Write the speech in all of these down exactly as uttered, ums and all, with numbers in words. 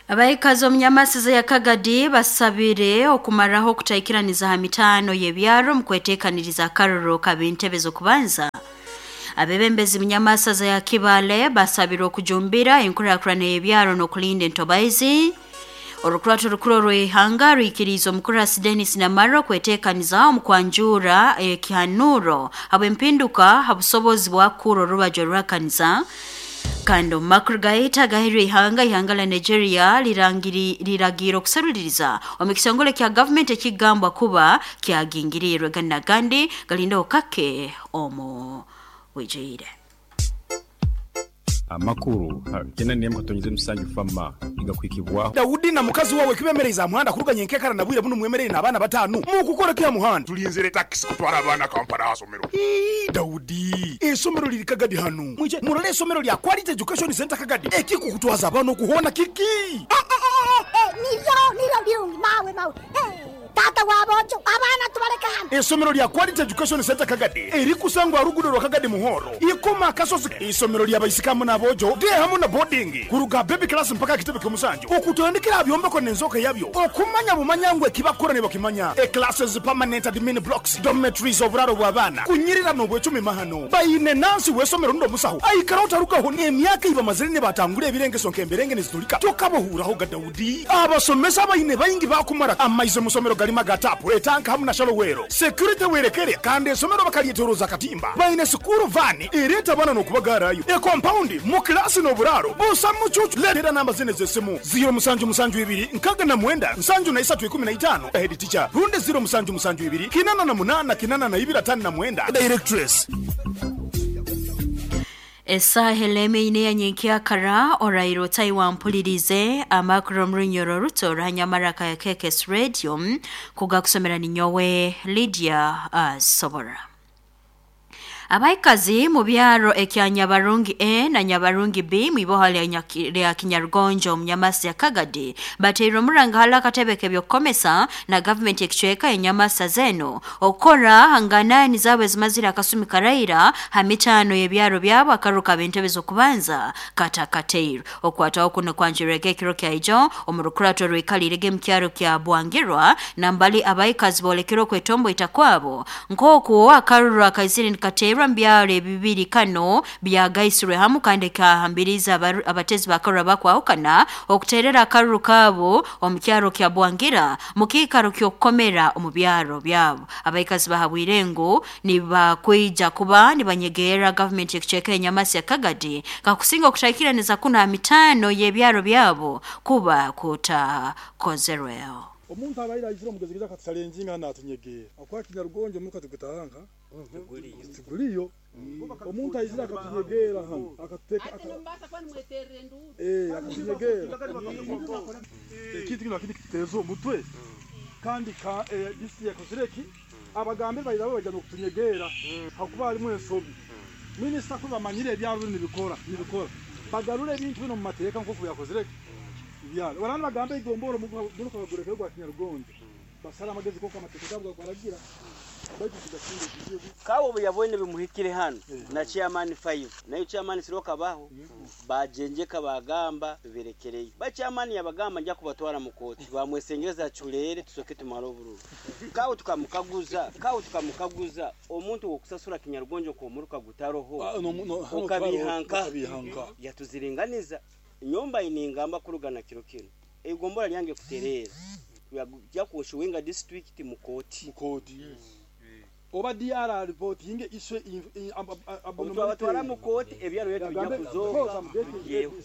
Abaikazi omunyamasiza ya Kagadi basabire okumaraho okutaikiraniza ha mitaano y'ebyaro mu kweteekaniriza akaroro kab'entebe z'okubanza. Abebembezi munyamasaza ya Kibale basabire okujumbira enkurakurana y'ebyaro n'okulinda entobaizi. Orukurato rukuru orw'ihanga rwikiriize omukurasi Denis Namara okweteekaniza omu kwanjura ekihanuro habw'empinduka ha busobozi bwakukura orubaju oruhakaniza. Kandi omu makuru gaitu agahirwe ihanga, ihanga lya Nigeria lirangiri liragiire okuseruliriza omu kitongole kya gavumenti ekigambwa kuba kyagingiriirwe. Gandi n'agandi galindaho kake omu bwijwire. Amakuru kenda n'emwe katonyeze musanju fama igakwikibwaho. Daudi na mukazi wawe kibemereza aha muhanda kuruganya enkekara na bwire buno mwemerere n'abaana bataano mukukora ki aha muhanda? Tulinzire takisi kutwara abaana Kampala aha somero. Ii, Daudi, esomero liri Kagadi hanu. Mwije murole esomero lya Quality Education Center Kagadi. Ekikukutwaza abaana okuhoona kiki? Eh, eh, eh, eh, niryo niryo birungi mawe mawe. Eh, tata wabonjo abaana tubaleka hano. Esomero lya Quality Education Center Kagadi erikusangwa rugudo rwa Kagadi Muhoro ikoma akasozi. Isomero lya baisikamu n'abojo de hamu na boarding kuruga baby class mpaka kitebe ky'omusanju okutandikira byombeko n'enzoka yabyo okumanya bumanya ngwe kibakora ne bakimanya. E classes, permanent admin blocks, dormitories, oburaro bw'abaana kunyirira n'obwecumi mahano bayine nansi w'esomero ndo musaho aikara otarugaho n'emyaka ibamazire ne batangura ebirengeso nk'emberenge nizitulika tokabohuraho ga Daudi. Abasomesa bayine bayingi bakumara amaize musomero galima gatapu etanka hamu na shalowero security werekere kandi esomero bakalyetoroza katimba bayine sukuru vani ereta abana n'okubagarayo e compound mu klasi n'oburaro busa mucucu. Letera namba zine z'esimu ziro musanju musanju ibiri nkaga na mwenda nsanju na isatu ikumi na itano head teacher runde ziro musanju musanju ibiri kinana na munana kinana na ibiri atano na mwenda directress. Esaha eleme ine ya nyenkyakara orairo taiwampulirize amakuru omurunyoro ruto ruhanyamaraka ya K K S Radio kugakusomera ninyowe Lydia Asobora. Abaikazi mu byaro ekya Nyabarungi A na Nyabarungi B mwiboha lya Kinyarugonjo omunyamasi ya Kagadi bateirwe omuranga hala akatebe k'ebyokukomesa na gavumenti ekicweka enyamasa zeno okukora hanganani zaabwe ezimazire akasumi karaira ha mitaano y'ebyaro byabo akaruka b'entebe z'okubanza katakateirwe. Okwataho kuno kwanjurwege ekiro kyaijo omu rukurato rwikalirege mu kyaro kya Bwangirwa nambali abaikazi boolekere okwetomboita kwabo nk'oku akaruru akaizire nikateerwa mbyaro ebibiri kano byagaisirwe hamu kandi kahambiriza abatezi bakarura bakwahukana okuterera akaruru kabo omu kyaro kya Bwangira mu kiikaro ky'okukomera omu byaro byabo. Abaikazi bahabwire ngu nibakwija kuba nibanyegerera gavumenti ekicweka enyamasi ya Kagadi kakusinga okutaikiraniza kuno ha mitaano y'ebyaro byabo kuba kutakozerweho. Omuntu abaire aizire omugezi akatusalenjinga natunyegera akwa Kinyarugonjo muka tugutanga tiguliyo omuntu aizire akatunyegera hano akatuteka eh akatunyegera ekintu kino akindi kitezo omutwe kandi ka disi yakozireki abagambe bayirabo bajya no kutunyegera hakuba harimo ensobi. Minisita ko bamanyire ebyaro nibikora nibikora bagarure ebintu bino mu mateeka nko kuyakozireki byalo barana bagambe igomboro muruka bagureke rwa Kinyarugonjo basara amagezi koko amategeko gabwa kwaragira kawo buyabone bimuhikire hano na chairman five nayo chairman siroka baho bajenjeka bagamba biberekereye ba chairman yabagamba njya kubatwara mu koti bamwesengereza chulere tusoke tumara obururu kawo tukamukaguza kawo tukamukaguza omuntu wokusasura Kinyarugonjo ko muruka gutaroho ukabihanka yatuziringaniza nyomba iningamba kurugana kiro kino egombora lyange kuterera ya kushuwenga district mukoti mukoti yes. Oba D R report yinge iswe abatwara mukoti ebyaro yetu bijya kuzoka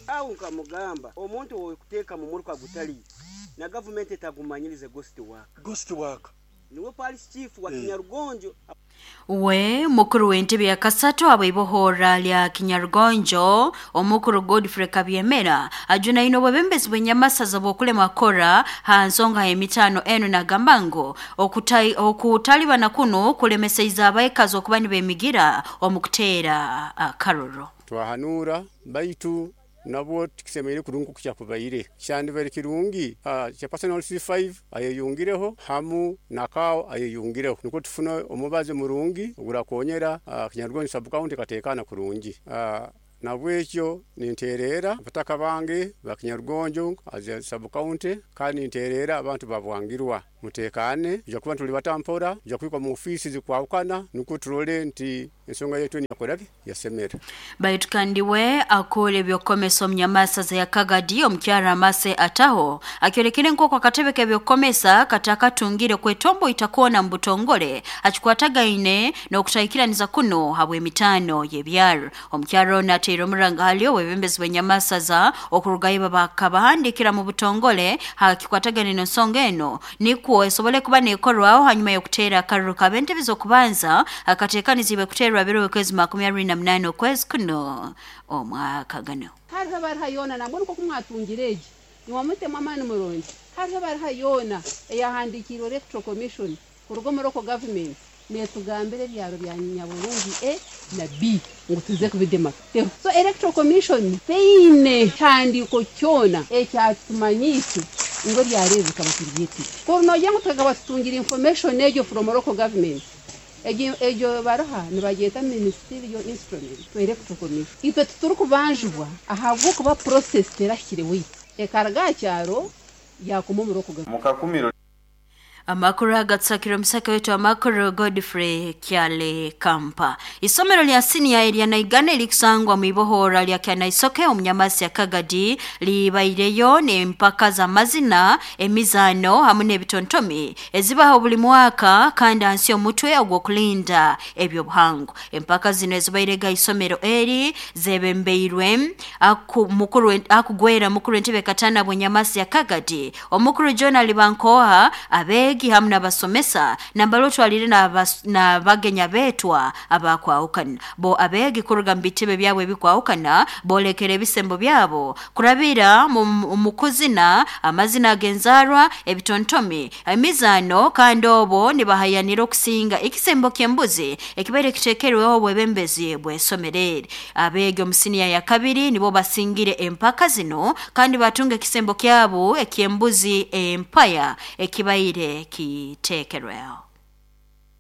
awu nkamugamba omuntu wokuteeka mu muruka gutali na government etagumanyirize ghost work ghost work niwe police chief wa Kinyarugonjo. We mukuru w'entebe ya kasatu abaibohora lya Kinyarugonjo omukuru Godfrey Kabyemera ajunaine obwebembezi bw'enyamasaza bw'okulema kora ha nsonga y'emitano eno nagamba ngu okutalibana kuno kulemeseiza abaikazi okuba nibemigira omu kuteera akaruru. Twahanura baitu nabwo tukisemeire kurungu kukyakubaire kyandibere kirungi uh, personal C five ayeyungireho hamu nakao ayeyungireho niko tufuna omubazi murungi ogurakonyera uh, Kinyarugonjo sub county katekana kurungi. uh, Nabwekyo ninterera abataka bange bakinyarugonjo as sub county, kandi ninterera abantu babwangirwa mutekane ja kuba tuli batampora ja kwikwa mu ofisi zikwawukana nuko turole nti ensonga yetu niyakorake yasemera. Baitu kandi we akole ebyokomesa omunyamasa za Kagadi omukyara Mase Ataho akyolekere nk'oku akatebe k'ebyokomesa katakatungire kwetombo itakuona mbutongole akikwatagaine n'okutahikiraniza kuno habw'emitano y'ebyaro. Omukyara ono ateire omuranga hali obwebembezi bw'enyamasa za okurugayo bakabahandikira mu butongole hakikwatagaine n'ensonga eno nikwo esobole kuba nekorwaho hanyuma y'okuteera akaruru k'abentebe z'okubanza akateekanizibwe kuteerwa biro okwezi makumi abiri na munana okwezi kuno omwaka gano. Hariho bariha yoona nabwo niko kumwatungira egi niwamutema amaani murungi. Hariho bariha yoona eyahandikiirwe Electoral Commission kuruga omu local government netugambira ebyaro bya Nyaburungi A na B ngu tuze kubidema. So Electoral Commission teine kihandiiko kyona ekyatumanyiise ngu ebyaro ebi bikaba tubyetire. Kuri nogira ngu tukaba tutungira information egyo from local government, egyo egyo baruha nibagyeta ministerial instrument to Electoral Commission. Itwe titurikubanjibwa ahabw'okuba process terahikire waitu ekaruga aha kyaro yakuma omu local government. Mukakumiro. Amakuru agatsakira omusaka wetu amakuru Godfrey Kyale Kampa. Isomero lya senior erya Naigana erikusangwa mu ibohora lya Kyanaisoke omunyamasi ya Kagadi libaireyo n'empaka za mazina, emizano hamwe n'ebitontomi ezibaho buli mwaka kandi hansi omutwe ogw'okulinda ebyobuhango. Empaka zino ezibairega isomero eri zebembeirwe aku mukuru akugwera mukuru entebe katana bwenyamasi ya Kagadi omukuru John Alibankoha abe hamwe n'abasomesa nambalo twalire na bagenya betwa abakwawukana bo abegi kuruga mu bitebe byabwe bikwawukana bolekere ebisembo byabo kurabira mu kuzina amazina agenzarwa ebitontomi emizano kandi obo nibahayanira okusinga ekisembo ky'embuzi ekibaire kitekerweho obwebembezi bw'esomerere. Abegi omusiniya ya kabiri nibo basingire empaka zino kandi batunga ekisembo kyabo eky'embuzi empaya ekibaire kitekerweho.